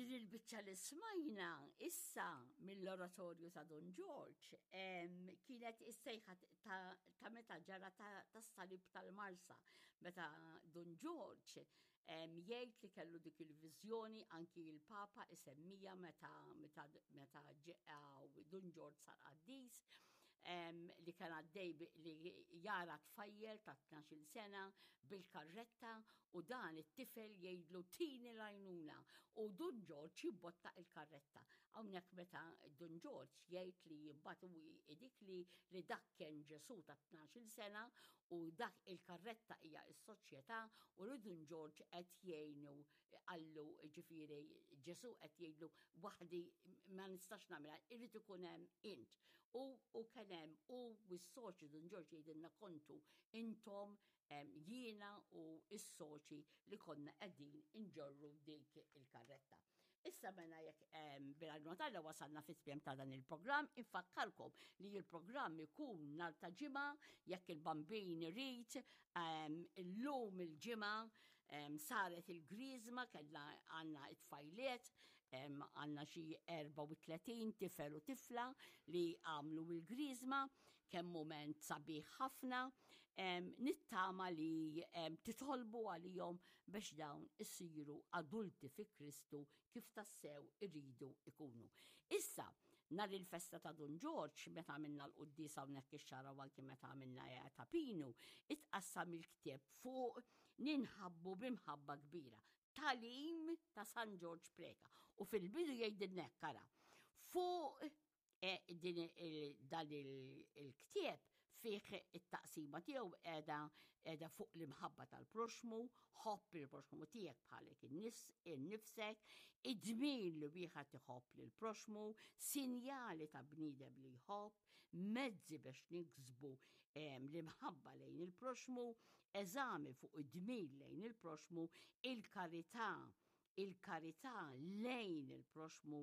Din il-biċċa li smajna issa mill-oratorju ta' Don George kienet is-sejħa ta' meta ġara tas-salib tal-Marsa, meta Don George jgħid li kellu dik il-viżjoni anki il-Papa isemmija meta meta meta Don George sar qaddis li kien għaddej li jara tfajjel ta' 12 sena bil-karretta u dan it-tifel jgħidlu tini l-għajnuna u Dun Ġorġ jibbotta il-karretta. Hawnhekk meta Dun Ġorġ jgħid li mbagħad u dik li li dak kien Ġesù ta' 12 sena u dak il-karretta hija s-soċjetà u li Dun Ġorġ qed jgħinu qallu ġifieri Ġesù qed jgħidlu waħdi ma nistax nagħmilha, irid ikun hemm int. U, u kien hemm u s-soċi Dun Ġorġ jgħidilna kontu intom jiena u s-soċi li konna qegħdin inġorru dik il-karretta. Issa mela jekk bil-għajnuna tal wasalna fit-tmiem ta' dan il-programm, infakkarkom li il-programm ikun nhar ta' ġimgħa jekk il-bambin irid illum il-ġimgħa saret il-griżma kellna għandna it-tfajliet għandna xi 34 tifel u tifla li għamlu il-griżma kemm mument sabiħ ħafna, nittama li titolbu għalihom biex dawn isiru adulti fi Kristu kif tassew iridu ikunu. Issa, nhar il-festa ta' Dun Ġorġ, meta għamilna l-quddiesa hawnhekk ix-xara u anki meta għamilna ta' Pinu, itqassam il-ktieb fuq ninħabbu b'imħabba kbira. Talim ta' San Ġorġ Preka. U fil-bidu jgħidilna hekk ara. Fuq E, din dan il-ktieb fih it-taqsima tiegħu qiegħda qiegħda fuq l-imħabba tal-proxmu, ħobb il-proxmu tiegħek bħalek innifsek, id-dmir li wieħed iħobb lil proxmu, sinjali ta' bniedem li jħobb, mezzi biex niksbu l-imħabba lejn il-proxmu, eżami fuq id-dmir lejn il-proxmu, il-karità il-karità lejn il-proxmu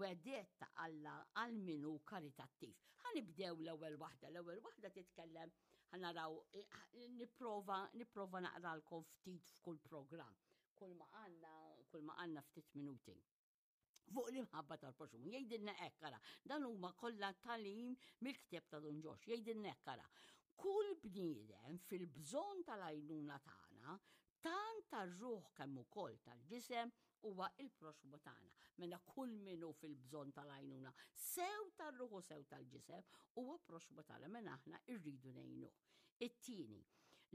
wegħdiet ta' Alla għal min hu karitattiv. Ħa nibdew l-ewwel waħda. L-ewwel waħda titkellem ħa naraw eh, nipprova nipprova naqralkom ftit f'kull programm. Kull ma għandna kull ma għandna ftit minuti fuq l-imħabba tal-proxmu. Jgħidilna hekk ara, dan huma kollha talim mill-ktieb ta' Dun Ġox, jgħidilna hekk ara. Kull bniedem fil-bżonn tal-għajnuna tagħna tant tar-ruħ kemm ukoll tal-ġisem huwa il-proxmu tagħna. Mela kull min hu fil-bżonn tal-għajnuna, sew tar-ruħ u sew tal-ġisem, huwa proxmu tagħna mela aħna rridu ngħinuh. It-tieni,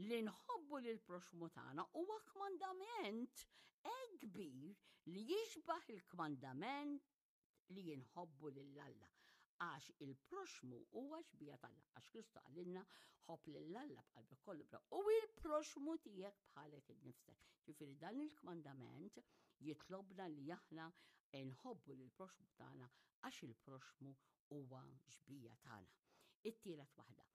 li nħobbu lil proxmu tagħna huwa kmandament hekk kbir li jixbaħ il-kmandament li jinħobbu lil Alla. Għax il-proxmu huwa xbija t'Alla. Għax Kristu qalilna ħobb lil Alla b'qalbek kollu bra. U il-proxmu tiegħek bħalek innifsek. Ġifieri dan il-kmandament jitlobna li aħna nħobbu lil proxmu tagħna għax il-proxmu huwa xbija tagħna. It-tielet waħda.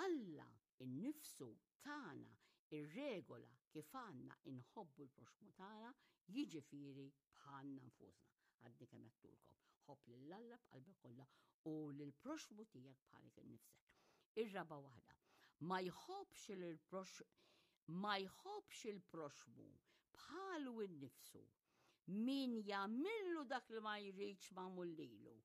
Alla innifsu tagħna ir-regola kif għandna inħobbu l-proxmu tagħna, jiġifieri bħalna nfusna. Għadni kemm għedtulkom. Ħobb lil Alla b'qalbek kollha u lill-proxmu tiegħek bħalek innifsek. Ir-raba' waħda. Ma jħobbx il-prox ma jħobbx il-proxmu bħalu innifsu min jagħmillu dak li ma jridx magħmul lilu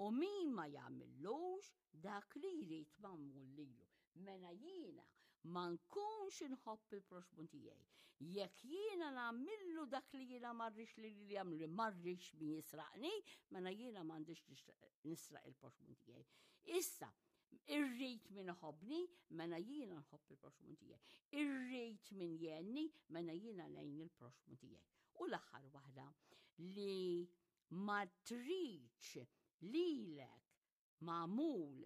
u min ma jagħmillux dak li jrid magħmul lilu. Mela jiena ma nkunx inħobb il-proxmu tiegħi. Jekk jiena nagħmillu dak li jiena ma rridx li li jagħmlu ma rridx min jisraqni, mela jiena m'għandix nisraq il-proxmu tiegħi. Issa, irrid min iħobbni, mela jiena nħobb il-proxmu tiegħi. Irrid min jgħinni, mela jiena lejn il-proxmu tiegħi. U l-aħħar waħda li ma tridx lilek magħmul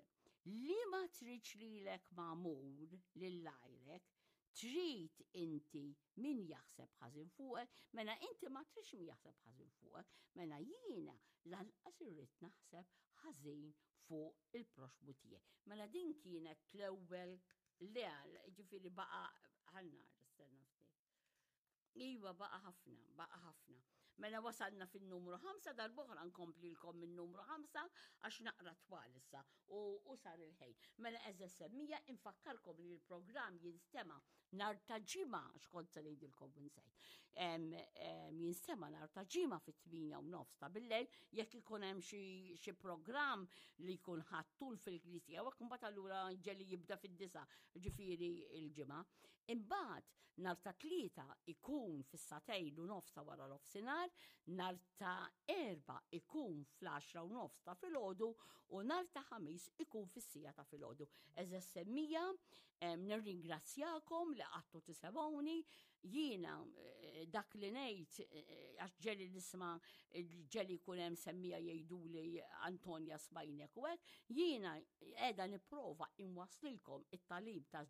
li ma tridx lilek magħmul lil għajrek, trid inti min jaħseb ħażin fuqek, mela inti ma tridx min jaħseb ħażin fuqek, mela jiena lanqas irrid naħseb ħażin fuq il-proxmu tiegħi. Mela din kienet l-ewwel le, ġifieri baqa' ħannar, stenna ftit. Iva, baqa ħafna, baqa ħafna. Mela wasalna fin-numru 5, darb'oħra nkomplilkom minn numru 5 għax naqra twal issa u, u sar il-ħejn. Mela eżess semmija infakkarkom li l-programm jinstema' Nhar ta' Ġimgħa, x'kont se ngħidilkom u nsejt. Jinstema' nhar ta' Ġimgħa fit-8 u nofs ta' billejl jekk ikun hemm xi programm li jkun ħadd tul fil-knisja u hekk imbagħad allura ġeli jibda fid-disa, ġifieri l-ġimgħa. Imbagħad nhar ta' Tlieta ikun fis-sagħtejn u nofs ta' wara nofsinhar, nhar ta' Erbgħa ikun fl-għaxra u nofs ta' filgħodu u nhar ta' Ħamis ikun fis-siegħa ta' filgħodu. Għeżież semmija, nirringrazzjakom li qgħadtu tisemgħuni, jiena eh, dak li ngħid eh, għax ġeli nisma' ġeli jkun hemm semmija jgħiduli Antonja smajnek u hekk, jiena qiegħda nipprova inwaslilkom it-tagħlim ta'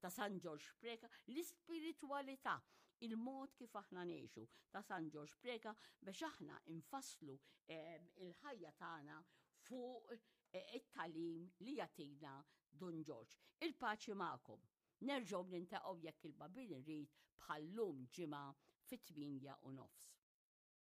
ta' San Ġorġ Preca, l-ispiritwalità, il-mod kif aħna ngħixu ta' San Ġorġ Preca biex aħna infasslu ehm, il-ħajja tagħna fuq eh, it-tagħlim li jagħtina Dun Ġorġ. Il-paċi magħkom. Nerġgħu nintaqgħu jekk il-Bambin irid bħal-lum ġimgħa fit-8 u nofs.